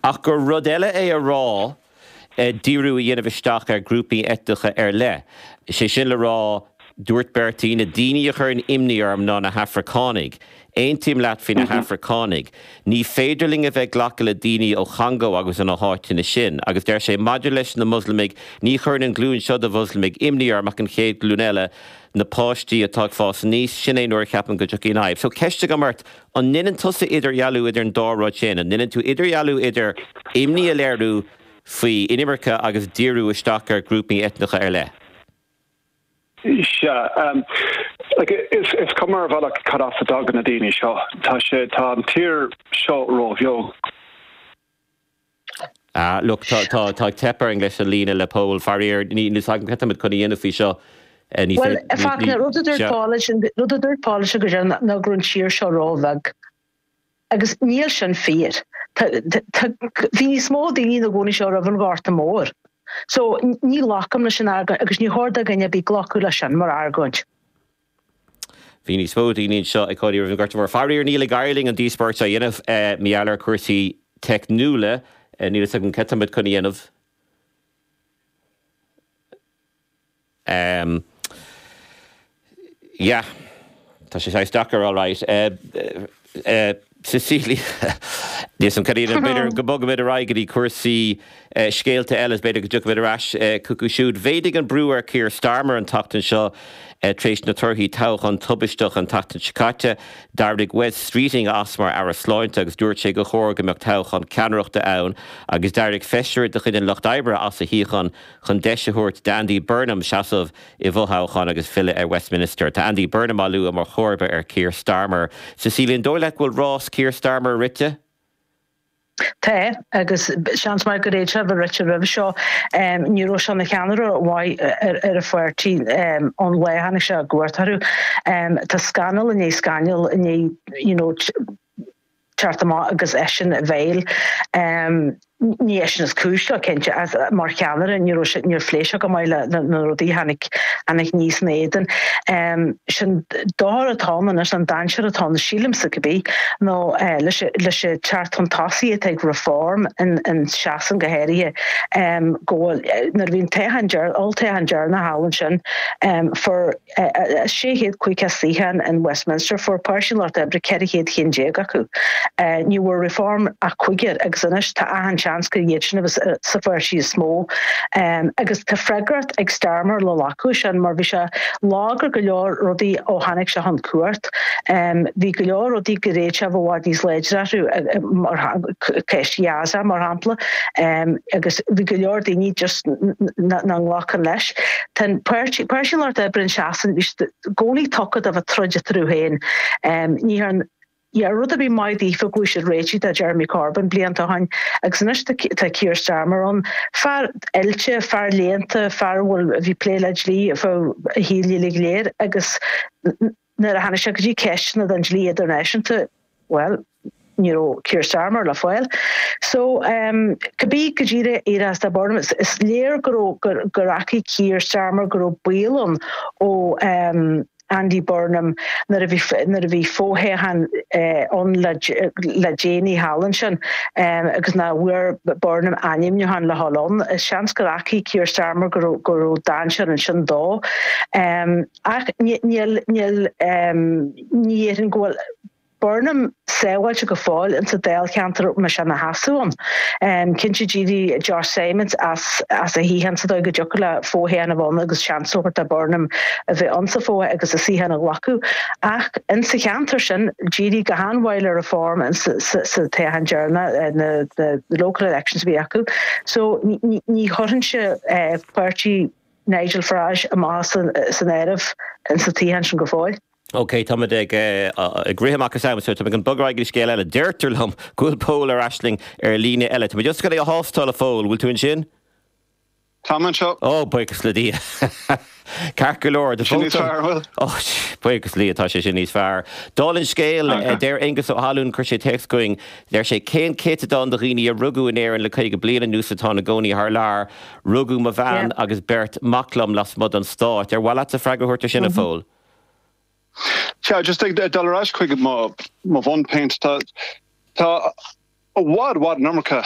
Ach gur rud eile é a rá díriú a dhéanamh isteach ar ghrúpaí eitneacha ar leith. Sé sin le rá, dúirt Bertie, na daoine a chuireann imní orm ná na hAfracánaigh. Aontaím leat faoi na hAfracánaigh. Ní féidir linn a bheith ag glacadh le daoine ó Chongó agus ó na háiteanna sin. Agus deir sé, maidir leis na Moslamaigh, ní chuireann an ghlúin seo de Mhoslamaigh imní orm ach an chéad ghlúin eile, na páistí atá ag fás aníos, sin é nuair a cheapaim go dtiocfaidh an fhadhb. So, ceist agam ort, an ndeineann tusa idirdhealú idir an dá rud sin? An ndeineann tú idirdhealú idir imní a léiriú faoi inimirce agus díriú isteach ar ghrúpaí eitneacha ar leith? Sea. Like, is, is cuma ar bhealach cad as a dtagann na daoine seo. Tá sé, tá an tír seo róbheag. Ah, look, tá, tá, tá ag teip orainn leis an líne le Pól. Faraor, ní, níl 's agam cad táimid chun a dhéanamh faoi seo. Ní Bhuel, féidir, ní, Fachtna, rud a dúirt sea. Paul ansin, rud a dúirt Paul ansin go deimhin ná go raibh an tír seo róbheag. Agus níl sin fíor. Tá, tá, bhí níos mó daoine ina gcónaí anseo roimh an Ghorta Mór. So, ní ghlacaim leis an argóint agus ní chóir do dhuine ar bith glacadh leis sin mar argóint. Bhí níos mó daoine anseo ag cónaí roimh an Ghorta Mór. Faraor, níl ag éirí linn an díospóireacht seo a dhéanamh mar gheall ar chúrsaí teicniúla. Níl fhios agam cad táimid chun a dhéanamh. Ehm yeah tá sé saghas deacair alright eh eh Cecilia níl 's a'm cad a dhéanamh b'fhéidir go mbogfaimid ar aghaidh go dtí cúrsaí eh scéalta eile is b'fhéidir go dtiocfaimid ar ais eh chucu siúd. Mhéadaigh an brú ar Keir Starmer an tseachtain seo eh tar éis na torthaí toghcháin tubaisteach an tseachtain seo caite. D'éirigh Wes Streeting as mar Aire Sláinte agus dúirt sé gur chóir go mbeadh toghchán ceannaireachta ann agus d'éirigh feisire de chuid an Lucht Oibre as a shuíochán chun deis a thabhairt d'Andy Burnham seasamh i bhfothoghchán agus filleadh ar Westminster. Tá Andy Burnham á lua mar chomharba ar Keir Starmer. Cecilia, an dóigh leat go bhfuil rás Keir Starmer rite? Tá, agus seans maith go bhféadfadh sé a bheith rite roimhe seo. Ní raibh sé ina cheannaire mhaith ar an pháirtí ón lá a tháinig sé i gcumhacht orthu. Tá scannal i ndiaidh scannail i ndiaidh you know teacht amach agus eisean i bhfeighil. Ní eisean is cúis leo, cinnte, ach mar cheannaire ní raibh sé, níor phléigh sé go maith le na rudaí a tháinig, tháinig aníos ina éadan. Sin dochar atá ann anois, an dainséar atá ann, sílimse cibé, nó leis leis an teacht chun tosaigh atá ag Reform in in Sasain go háirithe, go bhfuil, nuair a bhí an toghchán deireanach, olltoghchán deireanach thall ansin, fuair 650 suíochán in Westminster, fuair Páirtí an Lucht Oibre 400 cheann déag acu. Ní bhfuair Reform ach cúigear agus anois tá achan seans gur iad sin a bheas sa pháirtí is mó. Agus tá freagracht ag Starmer le glacadh sin mar bhí sé lag ar go leor rudaí ó tháinig sé chun cumhacht. Bhí go leor rudaí go bhféadfadh sé a bheith i bhfad níos láidre orthu, mar ceist Ghaza mar shampla, agus bhí go leor daoine just nach nglacann leis. Tá an páirtí, Páirtí an Lucht Oibre in Sasain, bhí siad i gcónaí tugtha do bheith ag troid eatarthu féin. Ní dhearn rud ar bith maith daofa go bhfuair siad réitigh de Jeremy Corbyn blianta ó shin agus anois tá Keir Starmer ann. Fear oilte, fear léannta, fear a bhfuil, a bhí ag plé le dlí ar feadh a shaoil uilig go léir agus nuair a tháinig sé go dtí ceisteanna den dlí idirnáisiúnta, bhuel, ní raibh Keir Starmer le fáil. So, cibé go díreach éireodh as do Burnham, is léir go raibh, gur fhaca Keir Starmer go raibh baol ann ó Andy Burnham nuair a bhí, nuair a bhí fothoghchán ann le le déanaí thall ansin agus nach bhfuair Burnham ainmniúchán le dhul ann. Is seans gur fhaca Keir Starmer go raibh, go raibh dainséar ansin dó. Ach níl, níl, ní dhéarfainn go bhfuil Burnham sábháilte go fóill insa dáilcheantar a mbeidh sé ina sheasamh ann. Cinnte d'éirigh Josh Simons as as a shuíochán sa dóigh go dtiocfadh le fothoghchán a bheith ann agus seans a thabhairt do Burnham a bheith ann sa fothoghchán agus a suíochán a ghlacadh. Ach insa cheantar sin d'éirigh go han-mhaith le Reform sa toghchán deireanach, na local elections a bhí acu. So ní chuirfinnse páirtí Nigel Farage amach as an áireamh insa tsuíochán sin go fóill. Ok, táimid ag ag rith amach as am, so táimid chun bogadh ar aghaidh go dtí scéal eile. Deirtear liom go bhfuil Pól ar ais linn ar líne eile. Táimid just chun é a thástáil, a Phóil. Bhfuil tú ansin? Táim anseo. Ó, buíochas le Dia. Ceart go leor. Sin níos fearr, an bhfuil? Ó, buíochas le Dia, tá sé sin níos fearr. Dála an scéil, deir Aengus Ó hAlúin, chuir sé téacs chugainn, deir sé, cén céatadán de dhaoine a rugadh in Éirinn le 50 bliain anuas atá ina gcónaí thar lear? Rugadh mo bhean agus beirt mac liom lasmuigh den Stát. Ar mhaith leatsa freagra a thabhairt ar sin, a Phóil? Sea, just ag dul ar ais chuig mo bhunphointe, tá tá i bhfad, i bhfad an iomarca.